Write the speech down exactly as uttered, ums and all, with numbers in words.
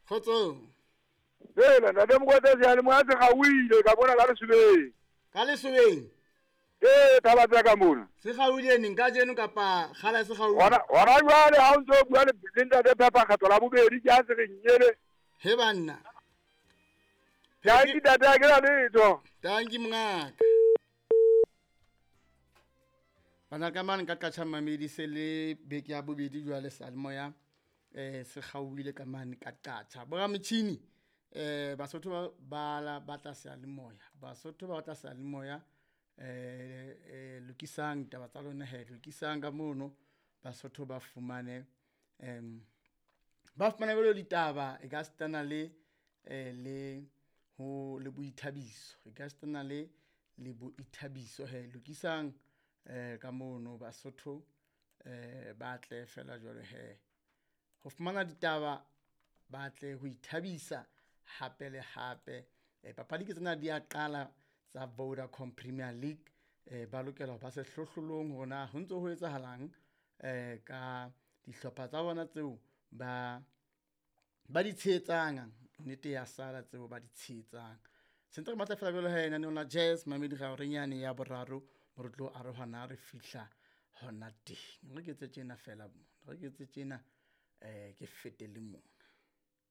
Kgotsong. Hela ntate Mokoete seyalemoya se kgaohile ka bona ka lesobeng. Ka lesobeng? Ee, thaba tsa ka mona. Se kgaohile neng, kajeno kapa kgale se kgaohile? Hona hona jwale ha o ntso bua le le ntate Phepha kgetlo la bobedi ke ha se re nyele. He banna. Tanki ntate, ha ke na letho. Tanki mongaka. Bana ka mane ka qatjha mamedi se le beke ya bobedi jwale seyalemoya eh se kgaohile ka mane ka qatjha. Borametjhini eh Basotho ba ba batla seyalemoya. Basotho ba batla seyalemoya eh eh lokisang taba tsa lona he, lokisang ka mono Basotho ba fumane em ba fumane jwalo ditaba e ka sitana le eh le ho le boithabiso. E ka sitana le le boithabiso he, lokisang eh ka mono Basotho eh ba tle fela jwalo he. Ho fumana ditaba ba tle ho ithabisa hape le hape. Eh papadi ke tsena di a qala tsa Vodacom Premier League. Eh ba lokela ho ba sehlohlolong hore na ho ntso ho etsahalang eh ka dihlopha tsa bona tseo ba ba di tshehetsang. Nnete ya sala tseo ba di tshehetsang. Sentse re matla fela jwalo he lenaneong la Jazz Mamedi Gaorenyane ya boraro mo re tlo arohana re fihla hona teng. Re ke etse tjena fela mo, re ke etse tjena eh ke fete le mona.